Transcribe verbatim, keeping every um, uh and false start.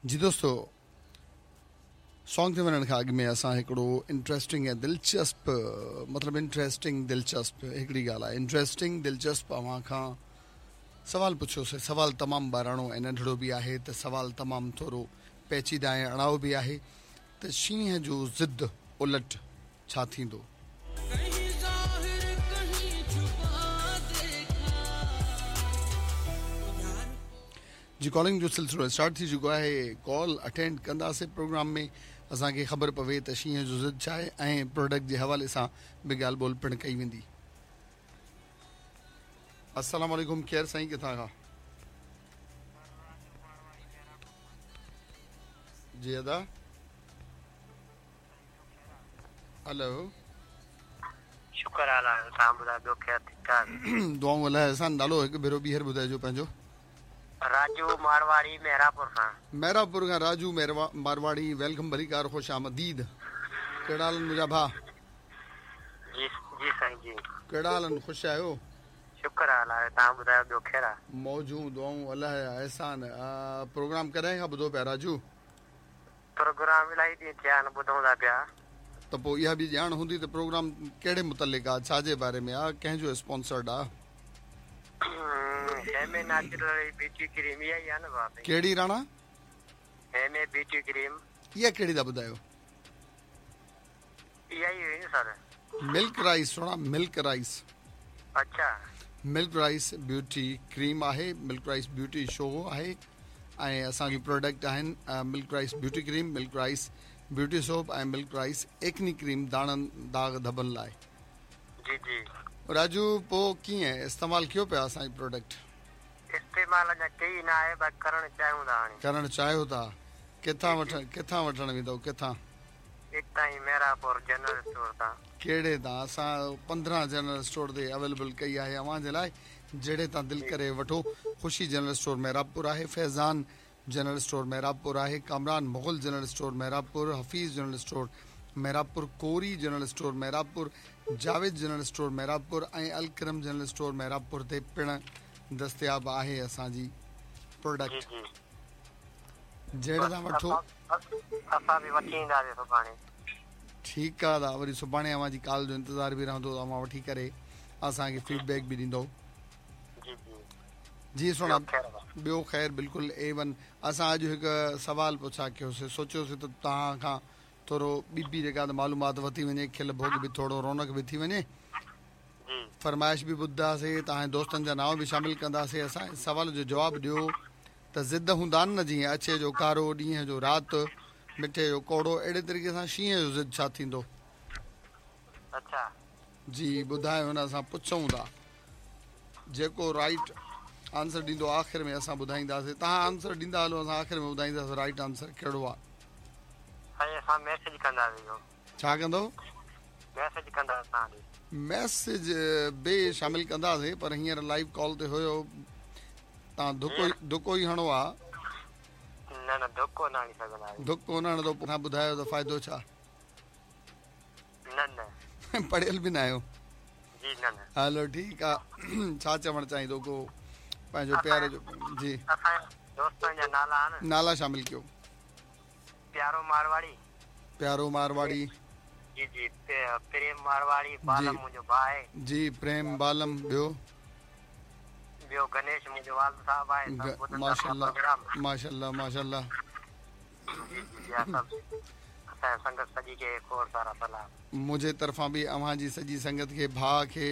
जी दोस्तो, सॉन्ग ते वञण खां अॻु में असां हिकिड़ो इंट्रस्टिंग ऐं दिलचस्प, मतिलबु इंट्रस्टिंग दिलचस्प हिकिड़ी ॻाल्हि आहे, इंट्रस्टिंग दिलचस्प अव्हां खां सवाल पुछियोसीं। सवाल तमामु ॿाराणो ऐं नंढड़ो बि आहे त सवाल तमामु थोरो पेचीदा ऐं अड़ाओ बि आहे त शींहं जो ज़िद उलट छा थींदो? जी कॉलिंग जो सिलसिलो स्टार्ट थी चुको आहे, कॉल अटेंड कंदासीं प्रोग्राम में असांखे ख़बर पवे त शींहं जो ज़िद छा आहे ऐं प्रोडक्ट जे हवाले सां बि ॻाल्हि ॿोल पिणु कई वेंदी। अस्सलाम वालेकुम, केरु साईं, किथां खां? जी अदा, हेलो। शुक्र अल्लाह, तव्हां ॿुधायो, ॿियो ख़ैर ठीकु ठाक? दुआऊं अल्लाह अहसान। नालो हिकु भेरो ॿीहर ॿुधाइजो पंहिंजो। राजू मारवाड़ी, मेहरापुर खां। मेहरापुर खां राजू मारवाड़ी, welcome, भलीकार, ख़ुश आमदीद। कहिड़ा हाल आहिनि मुंहिंजा भाउ? जी जी साईं जी। कहिड़ा हाल आहिनि, ख़ुशि आहियो? शुक्र अल्लाह, तव्हां ॿुधायो, ॿियो ख़ैर आहे? मौजूं, दुआऊं अल्लाह जा अहसान। प्रोग्राम कॾहिं खां ॿुधो पिया राजू? प्रोग्राम इलाही ॾींहं थिया आहिनि, ॿुधूं था पिया। त पोइ इहा बि ॼाण हूंदी त प्रोग्राम कहिड़े मुतलिक़ आहे, छाजे बारे में आहे, कंहिंजो स्पॉन्सर्ड आहे? हेमे नेचुरल ब्यूटी क्रीम इहा ई आहे न भाउ? कहिड़ी राणा? हेमे beauty cream. इहा कहिड़ी था ॿुधायो? इहा ई हुई न सर, मिल्क राइस। सुहिणा, मिल्क राइस। अच्छा, मिल्क राइस ब्यूटी क्रीम आहे, मिल्क राइस ब्यूटी शो आहे ऐं असांजूं प्रोडक्ट आहिनि milk rice beauty cream, milk rice beauty soap ऐं मिल्क राइस एक्नी क्रीम दाणनि दाग़ धबनि लाइ। जी जी राजू, पोइ कीअं इस्तेमालु कयो पिया असांजी प्रोडक्ट? इस्तेमालु अञा कई न आहे, बाक़ी करणु चाहियूं था। हाणे करणु चाहियो था। किथां वठण, किथां वठणु वेंदव, किथां? हितां ई मेहरापुर जनरल स्टोर तां। कहिड़े तां? असां पंद्रहं जनरल स्टोर ते अवेलेबल कई आहे अव्हां जे लाइ, जहिड़े तां दिलि करे वठो। ख़ुशी जनरल स्टोर मेहराबपुर आहे, फैज़ान जनरल स्टोर मेहराबपुर आहे, Kamran Mughal general store Mehrabpur, Hafeez general store Mehrabpur, Kori general store Mehrabpur, Javed general store Mehrabpur ऐं अलकरम जनरल स्टोर मेहराबपुर ते पिणु दस्तियाब आहे असांजी प्रोडक्ट। जहिड़े तां वठो। असां बि वठी ईंदासीं सुभाणे। ठीकु आहे दा, वरी सुभाणे अव्हां जी कॉल जो इंतज़ारु बि रहंदो, अव्हां वठी करे असांखे फीडबैक बि ॾींदो। जी सुहिणा, ॿियो ख़ैर बिल्कुलु ए वन। असां अॼु हिकु सवाल पुछा कयोसीं, सोचियोसीं त तव्हां खां थोरो ॿी बि जेका मालूमात वधी वञे, खिल भोग बि थोरो, रौनक बि थी वञे, फरमाइश बि ॿुधंदासीं, तव्हांजे दोस्तनि जा नांव बि शामिल कंदासीं। असां सवाल जो जवाबु ॾियो त ज़िद हूंदा आहिनि न, जीअं अछे जो कारो, ॾींहं जो राति, मिठे जो कौड़ो, अहिड़े तरीक़े सां शींहं जो ज़िद छा थींदो? अच्छा जी ॿुधायो न, असां पुछूं था, जेको राइट आंसर ॾींदो आख़िर में असां ॿुधाईंदासीं। तव्हां आंसर ॾींदा हलो, असां आख़िर में ॿुधाईंदासीं राइट आंसर कहिड़ो आहे। असां मैसेज कंदासीं। छा कंदो? मैसेज कंदासीं। मैसेज बि शामिल कंदासीं, पर हींअर लाइव कॉल ते हुयो, तव्हां धुको धुको ई हणो आहे। न न, धुको न हणी सघंदा। धुको न हणंदो, तव्हां ॿुधायो त फ़ाइदो छा? न न, पढ़ियल बि न आहियो। जी न न। हलो ठीकु आहे। छा चवणु चाहींदो को पंहिंजो प्यारे जो? जी दोस्तनि जा नाला आहिनि, नाला शामिल कयो। प्यारो मारवाड़ी, प्यारो मारवाड़ी जी जी, प्रेम मारवाड़ी, बालम मुंहिंजो भाउ आहे जी, प्रेम बालम, ॿियो? ॿियो गणेश मुंहिंजो वालिद साहिबु आहे। माशाअल्लाह माशाअल्लाह माशाअल्लाह। जी जी, असांजी संगत सॼी खे खोड़ सारा सलाम। मुंहिंजे तरफ़ां बि अव्हां जी सॼी संगत खे, भाउ खे,